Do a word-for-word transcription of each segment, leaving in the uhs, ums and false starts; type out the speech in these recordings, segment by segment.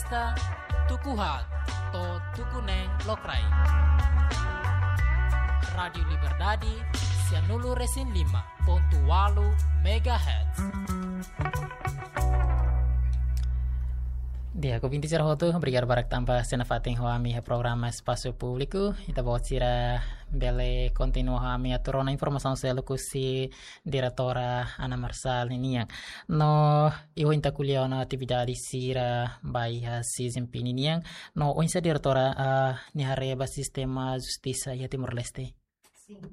Tuku haat to'o tuku neen lokraik. Rádiu Liberdade, sianulu resin lima pontu ualu megahertz. Di'ak, ouvinte sira hotu, obrigadu barak tanba sei nafatin ho ami iha programa Espasu Públiku. Ita-boot sira bele kontinua ho ami atu rona informasaun seluk husi diretora Ana Marçal ninian. No, i ohin ita ko'alia ona atividade sira ba iha C Z M P ninian. No, oinsá diretora, ah, nia haree ba sistema justisa iha Timor-Leste? Sin.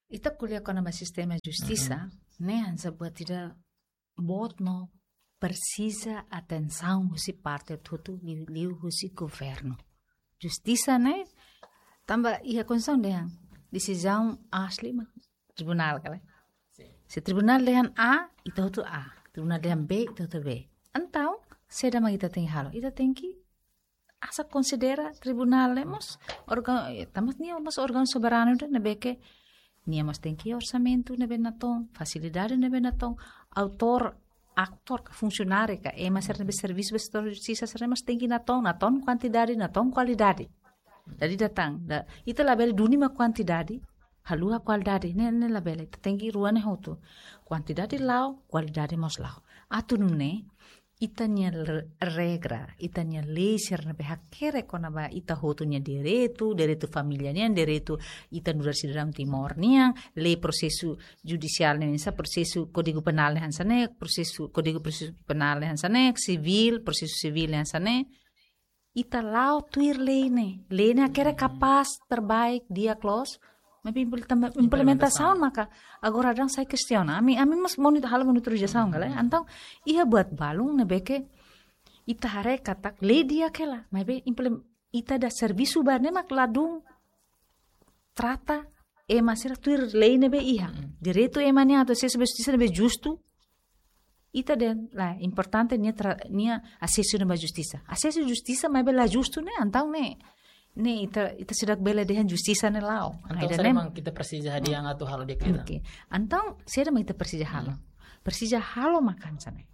Ita ko'alia kona-ba sistema justisa, ne'e hanesan buat ida boot no presiza atensaun husi parte hotu-hotu, liu, liu husi governu. Justisa ne'e, tanba iha Konstituisaun dehan desizaun asli mak tribunál, ka lae? Sin. Se tribunál dehan A, ita hotu A. Tribunál dehan B, ita hotu B. Entaun, saida mak ita tenke halo? Ita tenke asa konsidera tribunál ne'e mós orga-, eh, tanba nia mós órgaun soberanu ida ne'ebé ke nia mós tenke orsamentu ne'ebé natoon, fasilidade ne'ebé natoon, autór, atór ka funsionáriu ka ema sira ne'ebé servisu ba setór justisa sira mós tenke natoon, natoon kuantidade, natoon kualidade. Dala ida tan, da, ita labele duni mak kuantidade, haluha kualidade, ne'e, ne'e labele, ita tenke rua ne'e hotu. Kuantidade la'o, kualidade mós la'o. Atu nune'e, ita-nia re-, regra, ita-nia lei sira ne'ebé hakerek kona-ba ita hotu nia direitu, direitu família nian, direitu ita nu'udar sidadaun Timor nian, lei prosesu judisiál nian, hanesan prosesu Kódigu Penál nian hanesan ne'e, prosesu, Kódigu Prosesu Penál nian hanesan ne'e, sivíl, prosesu sivíl nian hanesan ne'e. Ita la'o tuir lei ne'e. Lei ne'e hakerek kapás, terbaik, di'ak loos. Maibé implementa-, implementasaun maka agora daudaun sai kestiona. Ami, ami mós monitor, halo monitorizasaun, ka lae? Entaun, iha buat balun ne'ebé ke ita haree katak lei di'ak hela. Maibé implem-, ita-nia servisu ba ne'e mak ladún trata ema sira tuir lei ne'ebé iha. Direitu ema nian atu asesu ba justisa ne'ebé justu. Ita dehan, la, importante nia tra-, nia asesu ne'e ba justisa. Asesu justisa maibé la justu ne'e, entaun ne'e, ne'e ita, ita seidauk bele dehan justisa ne'e la'o. Entaun, saida mak ita presiza hadi'a atu halo di'ak liután? Oke. Entaun, saida mak ita presiza halo? Presiza halo mak hanesan ne'e.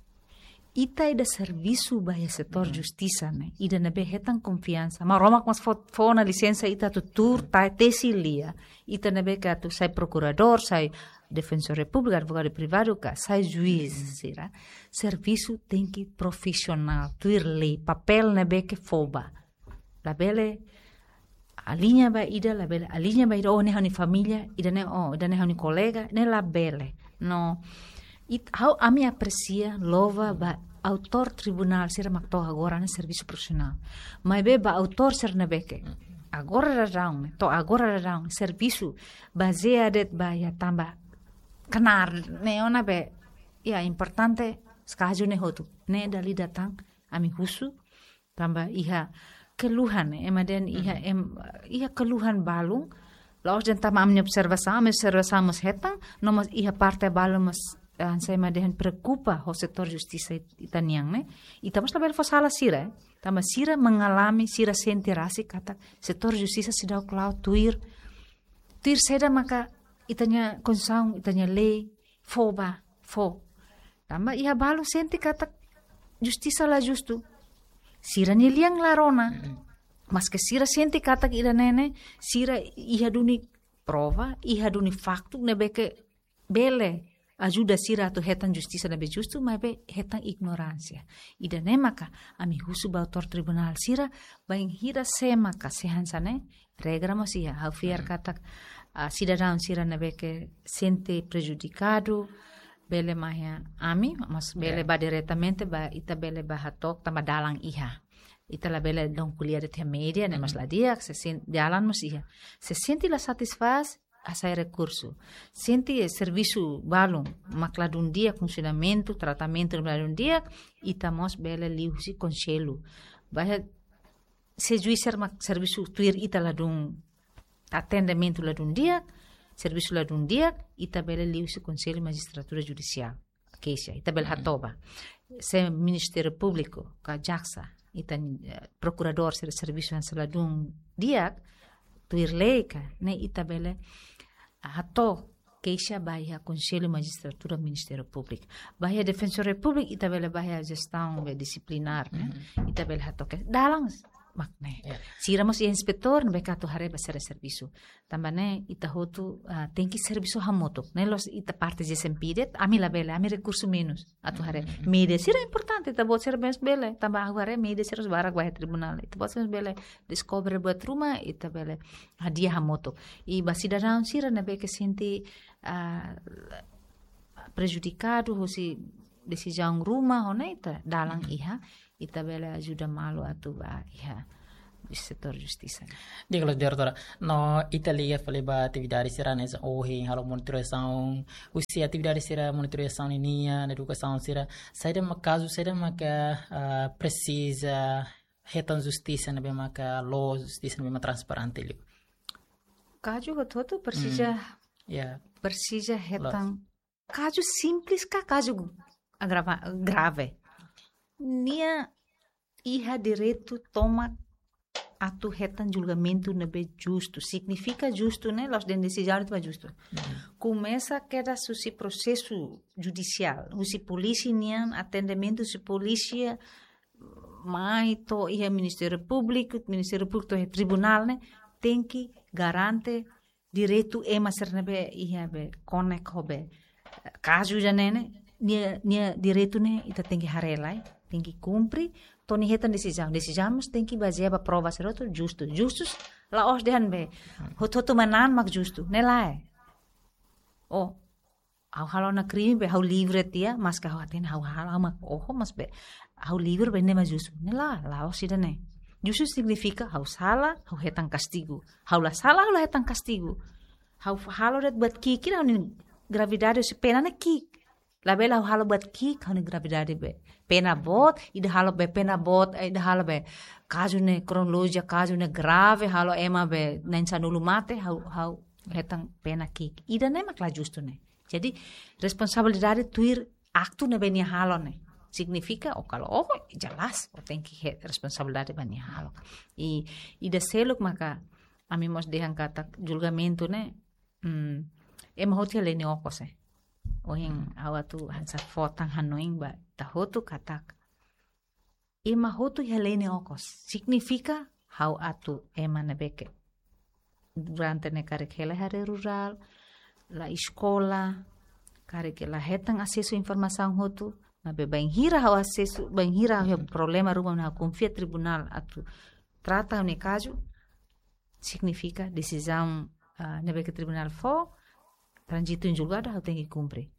Ita ida servisu ba iha setór justisa ne'e, ida ne'ebé hetan konfiansa. Maromak mós fó, fó ona lisensa ita atu tuur, ta-, tesi lia. Ita ne'ebé ke atu sai prokuradór, sai defensór da repúblika, advogadu privadu ka, sai juís sira. Servisu tenke profisionál, tuir lei, papél ne'ebé ke fó ba. Labele aliña ba ida, labele aliña ba ida, oh, ne'e ha'u-nia família, ida-ne'e, oh, ida-ne'e ha'u-nia kolega, ne'e labele. No, it-, ha'u, ami apresia, louva ba autór tribunál sira mak to'o agora ne'e servisu profisionál. Maibé ba autór sira ne'ebé ke agora daudaun, to'o agora daudaun, servisu bazeia de'it ba iha tanba knaar ne'e ona be, ya, importante, kazu ne'e hotu. Ne'e dala ida tan, ami husu, tanba iha keluhan, ema dehan iha, em, iha keluhan balun, la'ós dehan tanba ami-nia observasaun, ami-nia observasaun mós hetan, no mós iha parte balun mós, eh, hanesan ema dehan preokupa ho setór justisa it-, ita-nian ne'e. Ita mós labele fó sala sira, eh. Tanba sira mengalami, sira sente rasik katak setór justisa seidauk la'o tuir, tuir saida maka ita-nia Konstituisaun, ita-nia lei, fó ba, fó. Tanba iha balu sente katak justisa la justu. Sira-nia lian la rona. Maske sira sente katak ida-ne'e ne'e, sira iha duni prova, iha duni faktu, ne'ebé ke bele ajuda sira atu hetan justisa ne'ebé justu, maibé hetan ignoránsia. Ida-ne'e maka ami husu ba autór tribunál sira, bainhira se maka se hanesan ne'e, regra mós iha, ha'u fiar katak, ah, sidadaun sira ne'ebé ke sente prejudikadu, bele mai iha ami, mas bele ba diretamente ba, ita bele ba hato'o tanba dalan iha. Ita labele dong ko'alia de'it iha média, ne'e mós la di'ak, se sen-, dalan mós iha. Se sente la satisfás, hasai rekursu. Sente servisu balun mak ladún di'ak, funsionamentu, tratamentu ladún di'ak, ita mós bele liuhusi konsellu. Ba iha se juís sira mak servisu tuir ita ladún, atendimentu ladún di'ak, servisu ladún di'ak, ita bele liuhusi Konsellu Majistratura Judisiál, keixa, ita bele hatoba. Se Ministériu Públiku ka jaksa, ita, eh, prokuradór sira servisu hanesan ladún di'ak, tuir lei ka, ne'e ita bele hato'o keixa ba iha Konsellu Majistratura Ministériu Públiku. Ba iha Defensór Repúblika, ita bele ba iha jestaun be disiplinár, ne'e? Ita bele hato'o keixa. Dalan mak ne'e. Sira mós inspetór, ne'ebé atu haree ba sira-nia servisu. Tanba ne'e, ita hotu, ah, tenke servisu hamutuk. Ne'e la'ós ita parte G S M P de'it, ami labele, ami rekursu menus. Atu haree. Média sira importante, ita-boot sira mós bele. Tanba ha'u haree média sira barak ba iha tribunál. Ita-boot sira mós bele deskobre buat ruma, ita bele hadi'a hamutuk. I ba sidadaun sira ne'ebé ke sente, ah, prejudikadu husi desizaun ruma, ho ne'e ita dalan iha, ita bele ajuda malu atu ba iha setór justisa. Di'ak, loos, diretora. No ita liga fali ba atividade sira-ne'e ohin halo monitorizasaun, husi atividade sira monitorizasaun ninian, edukasaun sira, saida mak kazu, saida maka, ah, presiza hetan justisa ne'ebé maka loos, justisa ne'ebé mak transparente liu. Kazu hotu-hotu presiza, presiza hetan. Kazu simples ka kazu agrava-, grave. Nia iha direitu tomak atu hetan julgamentu ne'ebé justu. Signifika justu ne'e, la'ós dehan desizaun ne'e justu. Komesa kedas husi prosesu judisiál, husi polísia nian, atendimentu husi polísia, mai to'o iha Ministériu Públiku, Ministériu Públiku to'o iha tribunál ne'e, tenke garante direitu ema sira ne'ebé iha be konek ho be, eh, kazu ida-ne'e ne'e, nia, nia direitu ne'e ita tenke haree lai, tenke kumpre, to'o nia hetan desizaun. Desizaun mós tenke bazeia ba prova sira hotu justu. Justu la'ós dehan be hotu-hotu manán mak justu. Ne'e lae. Oh, ha'u halo ona krime be ha'u livre tiha, maske ha'u hatene ha'u halo, ha'u mak oho, mas be ha'u livre be ne'e mak justu. Ne'e lae, la'ós ida-ne'e. Justu signifika ha'u sala, ha'u hetan kastigu. Ha'u la sala, ha'u la hetan kastigu. Ha'u halo de'it buat ki'ik, ha'u-nia gravidade husi pena ne'e ki'ik. Labele ha'u halo buat ki'ik, ha'u-nia gravidade be pena boot, ida halo be pena boot, eh, ida halo be kazu ne'e kronolojia, kazu ne'e grave, halo ema be na'in-sanulu mate, ha'u, ha'u hetan pena ki'ik. Ida-ne'e mak la justu ne'e. Jadi, responsabilidade tuir aktu ne'ebé nia halo ne'e. Signifika, oh, kalau, oh, jelas, oh, tenke hetan responsabilidade ba nia halo. I, ida seluk maka, ami mós dehan katak julgamentu ne'e, hmm, ema hotu iha lei nia okos, eh. Ohin, ha'u atu hanesan fó tan hanoin ba ita hotu katak ema hotu iha lei nia okos. Signifika ha'u atu ema ne'ebé ke durante ne'e karik hela iha área rurál, la eskola, karik la hetan asesu informasaun hotu, maibé bainhira ha'u asesu, bainhira ha'u iha problema ruma ne'e ha'u konfia tribunál atu trata ha'u-nia kazu, signifika desizaun, ah, ne'ebé ke tribunál fó, tranzitu em julgado, ha'u tenke kumpre.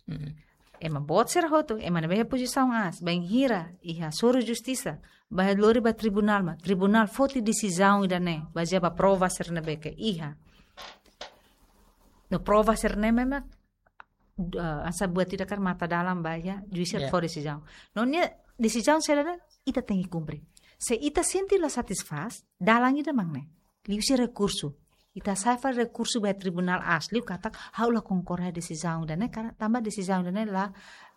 Ema boot sira hotu, ema ne'ebé iha pozisaun aas, bainhira iha hasoru justisa, bá lori ba tribunál, mak tribunál foti desizaun ida-ne'e, bazeia ba prova sira ne'ebé ke iha. No prova sira-ne'e memang, ah, hanesan buat ida karik mata dalan ba iha, juís sira fó desizaun. No nia desizaun sira-ne'e, ita tenke kumpre. Se ita sente la satisfás, dalan ida mak ne'e. Liuhusi rekursu. Ita hasa'e fali rekursu ba tribunál aas liu katak ha'u la konkorda desizaun ida-ne'e, karena tanba desizaun ida-ne'e la,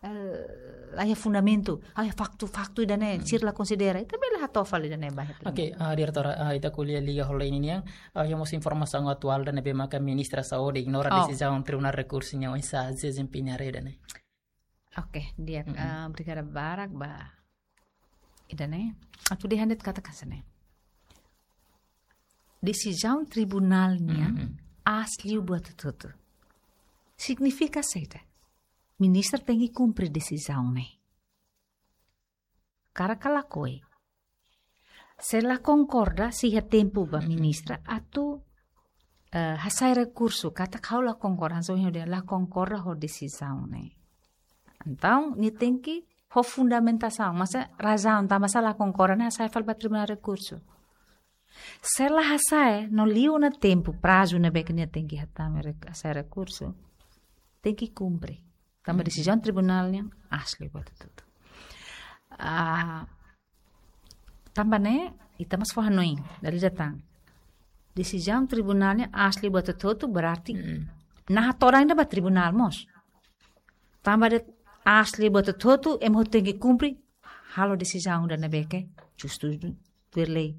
eh, la iha fundamentu, la iha faktu, faktu ida-ne'e, sira la konsidera. Ita bele hato'o fali ida-ne'e ba iha tribunál. Oke, ah, diretora, ah, ita ko'alia liga ho lei ninian, ah, iha mós informasaun atuál ida ne'ebé maka Ministra Saúde ignora desizaun Tribunál Rekursu nian, oinsá G S M P nia haree ida-ne'e. Oke, di'ak, ah, obrigada barak ba ida-ne'e, atu dehan de'it katak hanesan ne'e. Desizaun tribunál nian aas liu buat hotu-hotu. Signifika saida? Ministra tenke kumpre desizaun ne'e. Karik ka lakohi. Se la konkorda, sei iha tempu ba ministra atu, eh, hasa'e rekursu, katak ha'u la konkorda, hanesan ohin dehan la konkorda ho desizaun ne'e. Entaun, nia tenke ho fundamentasaun, maibé razaun tanbasá la konkorda ne'e hasa'e fali ba tribunál rekursu. Se la hasa'e, no liu ona tempu, prazu ne'ebé ke nia tenke hatama rek-, hasa'e rekursu, tenke kumpre. Tanba desizaun tribunál nian aas liu buat hotu-hotu. Ah, tanba ne'e, ita mós fó hanoin, dala ida tan. Desizaun tribunál nian aas liu buat hotu-hotu, berarti naha todan ida ba tribunál mós. Tanba de'it aas liu buat hotu-hotu, ema hotu tenke kumpre, halo desizaun ida ne'ebé ke justu tuir lei.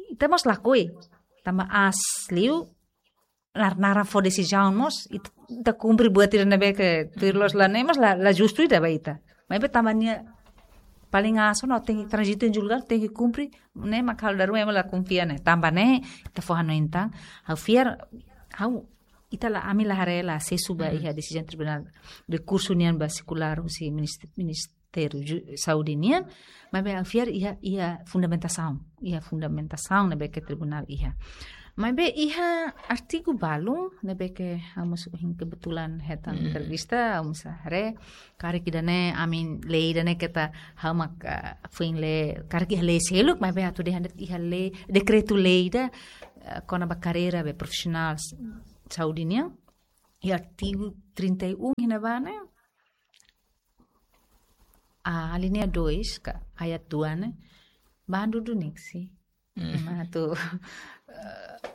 Ita mós lakohi, tanba aas liu, nar-, naran fó desizaun mós, ita, ita kumpre buat ida ne'ebé ke tuir loos la ne'e mós la, la justu ida ba ita. Maibé tanba nia paling aso no tenke tranzitu em julgadu, tenke kumpre, ne'e mak ha'u dala ruma ema la konfia ne'e. Tanba ne'e, ita fó hanoin tan, ha'u fiar, ha'u, ita la, ami la haree la asesu ba iha desizaun tribunál, rekursu nian ba sirkulár husi minist-, Ministériu Ju-, Saúde nian, maibé ha'u fiar iha, iha fundamentasaun, iha fundamentasaun ne'ebé ke tribunál iha. Maibé iha artigu balu ne'ebé ke ha'u mós ohin kebetulan hetan entrevista, ha'u mós haree, karik ida-ne'e, ami lee ida-ne'e keta ha'u mak, ah, foin lee, karik iha lei seluk, maibé atu dehan de'it iha lei, dekretu-lei ida, ah, kona-ba karreira be profisionál s-, saúde nian, iha artigu trinta e um iha ne'ebá ne'e, ah, alínea dois, ka ayat dua ne'e, bandu duni sih. Ema atu, eh,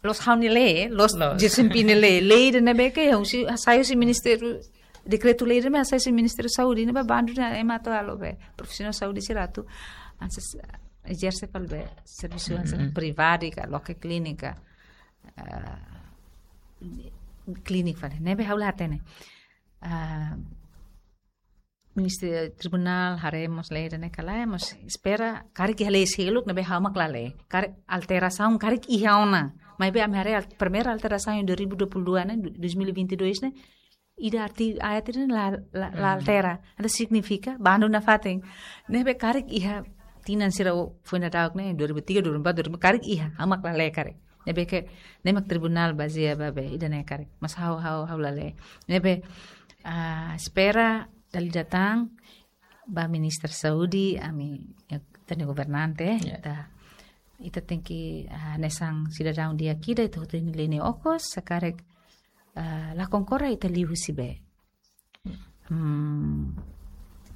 loos ha'u-nia lee, loos Loos. G S M P nia lee, lei ida ne'ebé ke, husi, hasai husi Ministériu, dekretu-lei ida ne'ebé hasai husi Ministériu Saúde, ne'ebé bandu ne'e ema atu halo be, profisionál saúde sira atu, hanesan, ezerse fali be, servisu hanesan privadu ka, loke klínika, eh, klínika fali, ne'ebé ha'u la hatene. Ah, Ministériu Tribunál haree mós lei ida-ne'e ka lae, mós espera karik iha lei seluk ne'ebé ha'u mak la lee. Karik alterasaun karik iha ona. Maibé ami haree al-, primeira alterasaun em dois mil e vinte e dois ne'e, du-, dois mil e vinte e dois ne'e, ida arti-, ayat ida la, la, la altera. Entaun signifika bandu nafatin. Ne'ebé karik iha tinan sira foin daudauk ne'e, dua ribu tiga, dua ribu empat, dua ribu empat, karik iha, ha'u mak la lee karik. Ne'ebé ke, ne'e mak tribunál bazeia ba be, ida-ne'e karik. Mas ha'u, ha'u, ha'u la lee. Ne'ebé, ah, espera dala ida tan, ba Ministra Saúde, ami, ya, ita-nia governante, Ya. ita, ita tenke, ah, hanesan sidadaun di'ak ida, ita hotu nia lene okos, se karik, ah, la konkorda ita liuhusi be. Hmm,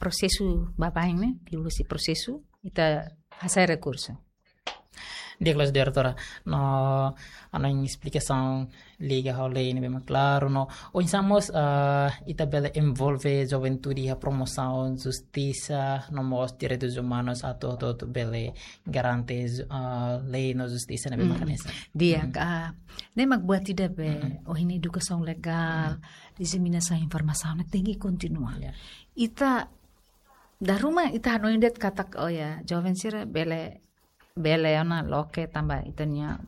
prosesu baibain ne'e, liuhusi prosesu, ita hasai rekursu. Di'ak loos, diretora. No, ha'u-nia esplikasaun liga ho lei ne'ebé mak klaru, no. Oinsá mós, ah, ita bele envolve juventude iha promosaun justisa, no mós direitus umanus atu, atu, atu bele garante, ah, lei no justisa ne'ebé mak hanesan. Di'ak, ah, ne'e mak buat ida be, ohin edukasaun legál, diseminasaun informasaun ne'e tenke kontinua. Ya. Ita, dala ruma ita hanoin de'it katak, oh ya, joven sira bele, bele ona loke tanba ita-nia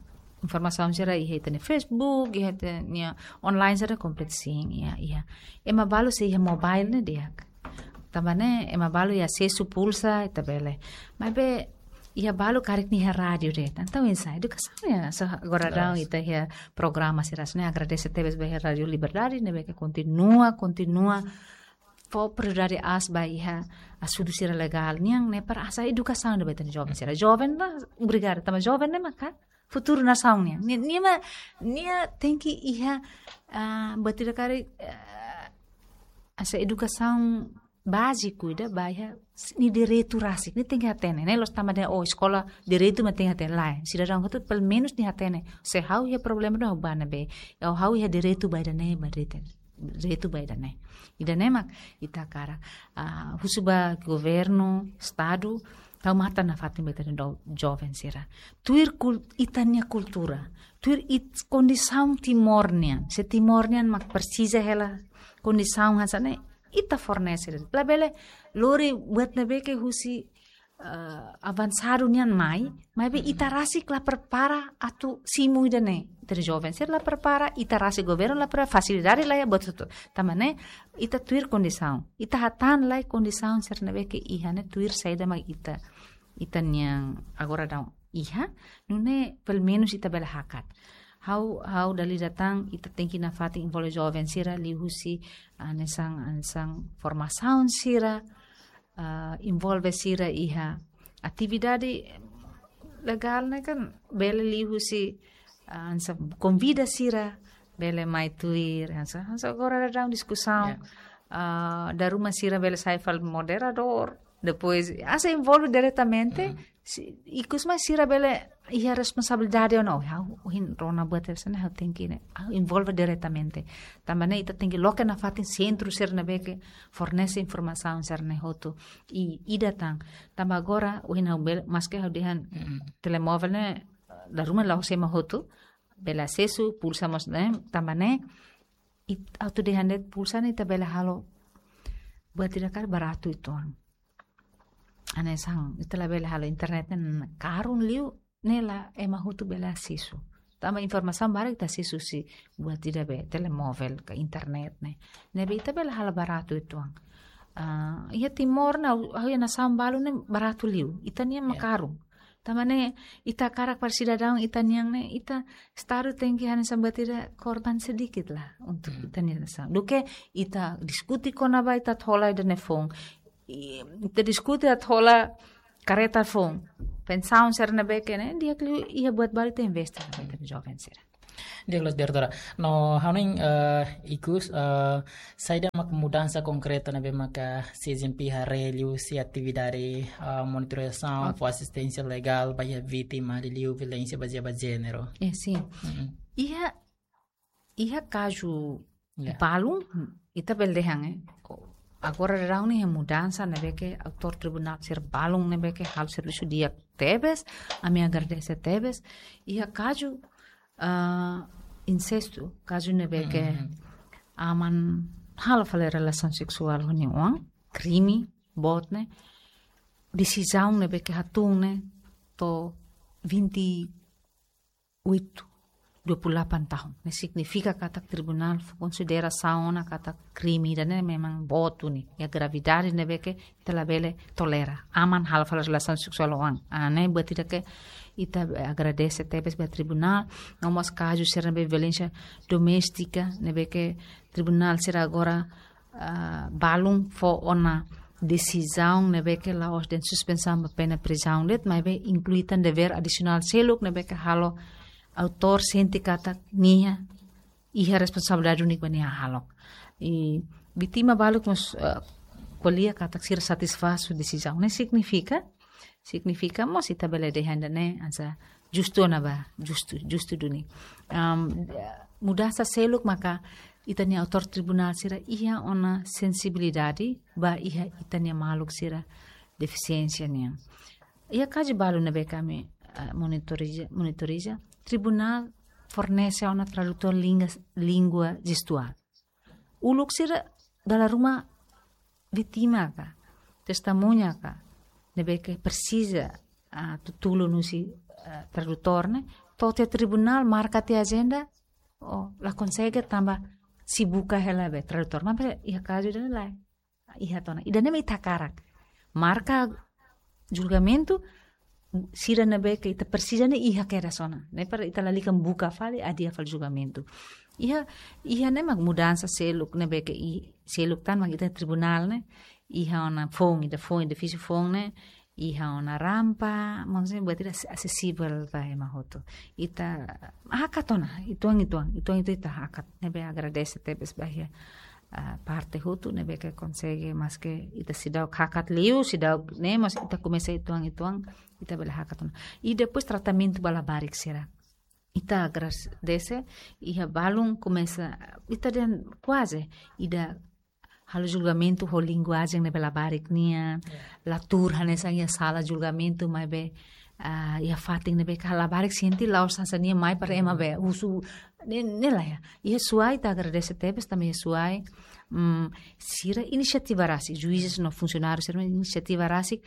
informasaun sira iha ita-nia Facebook, iha ita-nia online sira komplit sin, iha, iha. Ema balu sei iha mobile ne'e di'ak. Tanba ne'e ema balu iha asesu pulsa, ita bele. Maibé iha balu karik nia iha rádiu de'it. Entaun oinsá, edukasaun ya, so agora daudaun ita iha programa sira hanesan ne'e, agradese tebes ba iha Rádiu Liberdade, ne'ebé ke kontinua, kontinua fó prioridade aas ba iha asuntu sira legál nian ne'e para hasai edukasaun ba ita-nia joven sira. Joven la obrigada, tanba joven ne'e maka futuru nasaun nian. Nia, nia ma, nia tenke iha, ah, buat ida karik, ah, hasai edukasaun báziku ida ba iha s-, nia direitu rasik, nia tenke hatene, ne'e la'ós tanba dehan, oh, eskola direitu mak tenke hatene, lae, sidadaun hotu pelumenus nia hatene, se ha'u iha problema daudaun ha'u bá ne'ebé, ha'u, ha'u iha direitu ba ida-ne'e, ba direitu, direitu ba ida-ne'e. Ida-ne'e mak ita hakarak, ah, husu ba governu, estadu, tau matan nafatin ba ita-nia do-, joven sira. Tuir kul-, ita-nia kultura, tuir it-, kondisaun Timor nian, se Timor nian mak presiza hela kondisaun hanesan ne'e, ita fornese. Labele lori buat ne'ebé ke husi, eh, avansadu nian mai, maibé ita rasik la prepara atu simu ida-ne'e. Ita-nia joven sira la prepara, ita rasik governu la prepara, fasilidade la iha, buat hotu. Tanba ne'e, ita tuir kondisaun. Ita hatán lai kondisaun sira ne'ebé ke iha ne'e tuir saida mak ita, ita-nian agora daudaun iha, nune'e pelumenus ita bele hakat. Ha'u, ha'u dala ida tan, ita tenke nafatin envolve joven sira liuhusi, ah, hanesan, hanesan formasaun sira, ah, envolve sira iha atividade legál ne'e kan bele liuhusi, ah, hanesan konvida sira, bele mai tuir, hanesan, hanesan agora daudaun diskusaun, Ya. ah, dala ruma sira bele sai fali moderadór, depois, hanesan envolve diretamente, si-, ikus mai sira bele iha responsabilidade ona, oh, ha'u ohin rona buat hanesan ne'e, ha'u tenke ne'e, ha'u envolve diretamente. Tanba ne'e ita tenke loke nafatin sentru sira ne'ebé ke fornese informasaun sira-ne'e hotu. I, ida tan. Tanba agora, ohin ha'u bele, maske ha'u dehan telemóvel ne'e, dala ruma la'ós ema hotu, bele asesu, pulsa mós ne'e, tanba ne'e, it-, atu dehan de'it pulsa ne'e ita bele halo buat ida karik baratu uitoan. Hanesan, ita labele halo internet ne'e karun liu, ne'e la ema hotu bele asesu. Tanba informasaun barak ita asesu husi buat ida be, telemóvel, ka internet ne'e. Ne'ebé ita bele halo baratu uitoan. Ah, iha Timor ne'e, ha'u, ha'u iha nasaun balu ne'e baratu liu. Ita-nian mak karun. Tanba ne'e, ita hakarak para sidadaun ita-nian ne'e, ita, Estadu tenke hanesan buat ida korban sedikit lah untuk ita-nia nasaun. Duké ita diskuti kona-ba ita atu hola ida-ne'e foun. I, ita diskuti atu hola kareta foun. Pensaun sira ne'ebé ke ne'e, di'ak liu iha buat balu ita investe ba ita-nia joven sira. Di'ak loos, diretora. No, ha'u hanoin, eh, ikus, eh, saida mak mudansa konkreta ne'ebé maka C G M P haree liuhusi atividade, eh, monitorizasaun, fó asisténsia legál ba iha vítima liuliu violénsia bazeia ba jéneru. Eh, sin. Iha, iha kazu balun, ita bele dehan, eh. Agora daudaun ne'e iha mudansa ne'ebé ke autór tribunál sira balun ne'ebé ke halo servisu di'ak tebes, ami agradese tebes. Iha kazu, ah, insestu, kazu ne'ebé ke aman halo fali relasaun seksuál ho nia oan, krime boot ne'e, desizaun ne'ebé ke hatún ne'e to'o vinte e oito, dua puluh delapan tahun. Ne'e signifika katak tribunál fó konsiderasaun ona katak krime ida-ne'e memang boot duni. Iha gravidade ne'ebé ke ita labele tolera. Aman halo fali relasaun seksuál ho oan. Ah, ne'e buat ida ke ita agradese tebes ba tribunál. No mós kazu sira ne'ebé violénsia doméstika ne'ebé ke tribunál sira agora, ah, balun fó ona desizaun ne'ebé ke la'ós dehan suspensaun ba pena prizaun de'it, maibé inklui tan devér adisionál seluk ne'ebé ke halo autór sente katak nia iha responsabilidade úniku ba nia hahalok. I vítima balu mós, ah, ko'alia katak sira satisfás ho desizaun. Ne'e signifika, signifika mós ita bele dehan ida-ne'e hanesan justu ona ba, justu, justu duni. Am, mudansa seluk maka ita-nia autór tribunál sira iha ona sensibilidade ba iha ita-nia maluk sira defisiénsia nian. Iha kazu balu ne'ebé ke ami, ah, monitoriza, monitoriza, tribunál fornese ona tradutór língua, língua jestuál. Uluk sira dala ruma vítima ka, testemuña ka, ne'ebé ke presiza, ah, atu tulun husi, ah, tradutór ne'e, to'o tiha tribunál marka tiha ajenda, oh, la konsege tanba sei buka hela be tradutór. Maibé iha kazu ida-ne'e lae. Iha tiha ona. Ida-ne'e mak ita hakarak. Marka julgamentu, sira ne'ebé ke ita presiza ne'e iha kedas ona. Ne'e para ita lalika buka fali, adia fali julgamentu. Iha, iha ne'e mak mudansa seluk ne'ebé ke i, seluk tan mak ita tribunál ne'e. Iha ona foun, ida foun, edifísiu foun ne'e. Iha ona rampa, maksudnya buat ida as-, asesivel ba ema hotu. Ita hakat ona, uitoan, uitoan, uitoan, uitoan ita hakat. Ne'ebé agradese tebes ba iha, ah, parte hotu ne'ebé ke konsege, maske ita seidauk hakat liu, seidauk ne'e, mas ita komesa uitoan, uitoan, ita bele hakat ona. I depois tratamentu ba labarik sira. Ita agradese, iha balun komesa, ita dehan kuaze, ida halo julgamentu ho linguajen ne'ebé labarik nian, la tuur hanesan iha sala julgamentu, maibé, ah, iha fatin ne'ebé ke labarik sente la'ós hanesan nia mai para ema be husu, ne'e, ne'e lae. Iha Suai ita agradese tebes tanba iha Suai, mm, sira inisiativa rasik, juízes no funsionáriu sira inisiativa rasik,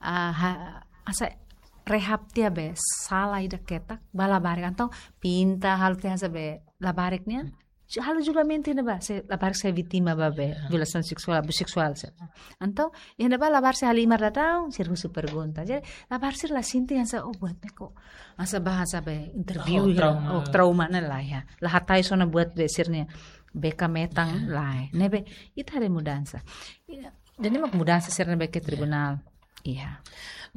ah, ha-, hanesan rehab tiha be sala ida ketak ba labarik, entaun pinta halo tiha hanesan be labarik nian, halo julgamentu iha ne'ebá, se labarik sai vítima ba be violasaun seksuál, abuzu seksuál, se. Entaun iha ne'ebá labarik sei halimar daudaun, sira husu pergunta. Jadi labarik sira la sente hanesan, oh, buat ne'e kok hanesan ba hanesan be interview, oh, trauma, oh, trauma ne'e lae. La hatene sona buat be sira-nia bekametan lae. Ne'ebé ita haree mudansa. Jadi mak mudansa sira ne'ebé ke tribunál. Iha.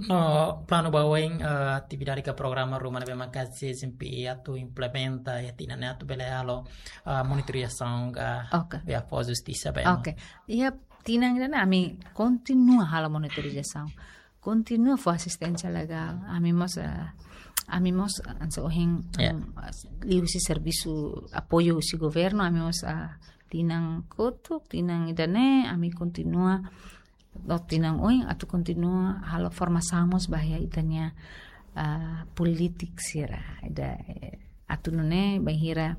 No planu ba oin, eh, atividade ka programa ruma ne'ebé maka C G M P atu implementa iha tinan ne'e atu bele halo, eh, monitorizasaun ka, oke, be fó justisa ba ema. Oke. Iha tinan ida-ne'e ami kontinua halo monitorizasaun. Kontinua fó asisténsia legál. Ami mós, eh, ami mós, eh, hanesan ohin, em, liuhusi servisu apoiu husi governu, ami mós, eh, tinan kotuk, tinan ida-ne'e, ami kontinua, no tinan oin, atu kontinua halo formasaun mós ba iha ita-nia, ah, polítiku sira, ida, eh, Atu nune'e bainhira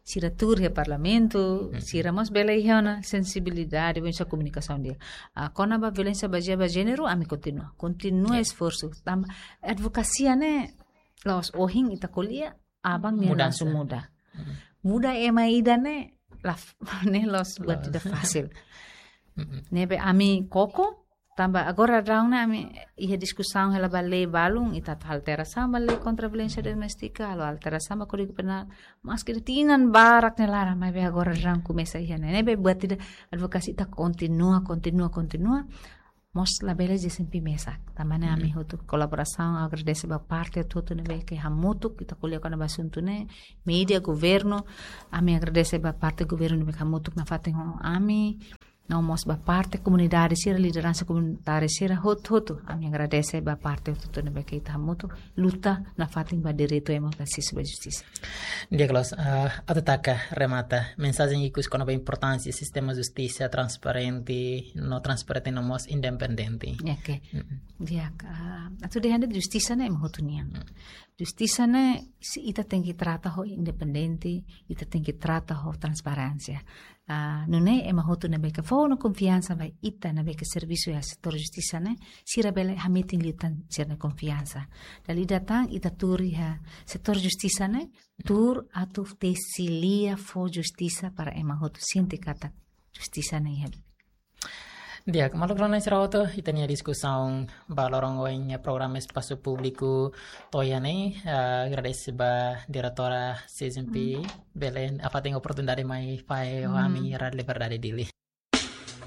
sira tuur iha parlamentu, sira mós bele iha ona sensibilidade, bele iha komunikasaun di'ak. Ah, kona-ba violénsia bazeia ba jéneru, ami kontinua. Kontinua esforsu. Tanba advokasia ne'e, la'ós ohin ita ko'alia, aban ne'e langsung muda. Muda ema ida ne'e, la, ne'e la'ós buat ida fasil. Ne'ebé ami koko, tanba agora daudaun ne'e ami iha diskusaun hela ba lei balun, ita atu alterasaun ba lei kontra violénsia doméstika, halo alterasaun ba Kódigu Penál, maski tinan barak nia laran, maibé agora daudaun komesa iha ne'e. Ne'ebé buat ida advokasia ita kontinua, kontinua, kontinua. Mós labele G S M P mesak. Tanba ne'e ami hotu kolaborasaun, agradese ba parte hotu ne'ebé ke hamutuk, ita ko'alia kona-ba asuntu ne'e, média, governu, ami agradese ba parte governu ne'ebé ke hamutuk nafatin ho ami, no mós ba parte komunidade sira, lideransa komunitária sira, hotu-hotu. Ami agradese ba parte hotu ne'ebé ke ita hamutuk luta nafatin ba direitu ema atu asesu ba justisa. Di'ak, Loos, ah, atu taka remata, mensajen ikus kona-ba importánsia sistema justisa transparente, no transparente no mós independente. Oke. Di'ak, ah, atu dehan de'it justisa ne'e ema hotu nian. Justisa ne'e, se ita tenke trata ho independente, ita tenke trata ho transparénsia. Ah, nune'e ema hotu ne'ebé ke fó ona konfiansa ba ita ne'ebé ke servisu iha setór justisa ne'e, sira bele hametin liután sira-nia konfiansa. Dala ida tan ita tuur iha setór justisa ne'e, tuur atu tesi lia fó justisa para ema hotu sente katak justisa ne'e iha. Di'ak, maluk rona sira hotu, ita-nia diskusaun ba loron ohin iha programa Espasu Públiku to'o iha ne'e, ah, agradese ba diretora C S M P, bele nafatin oportunidade mai fahe ho ami iha Rádiu Liberdade Dili.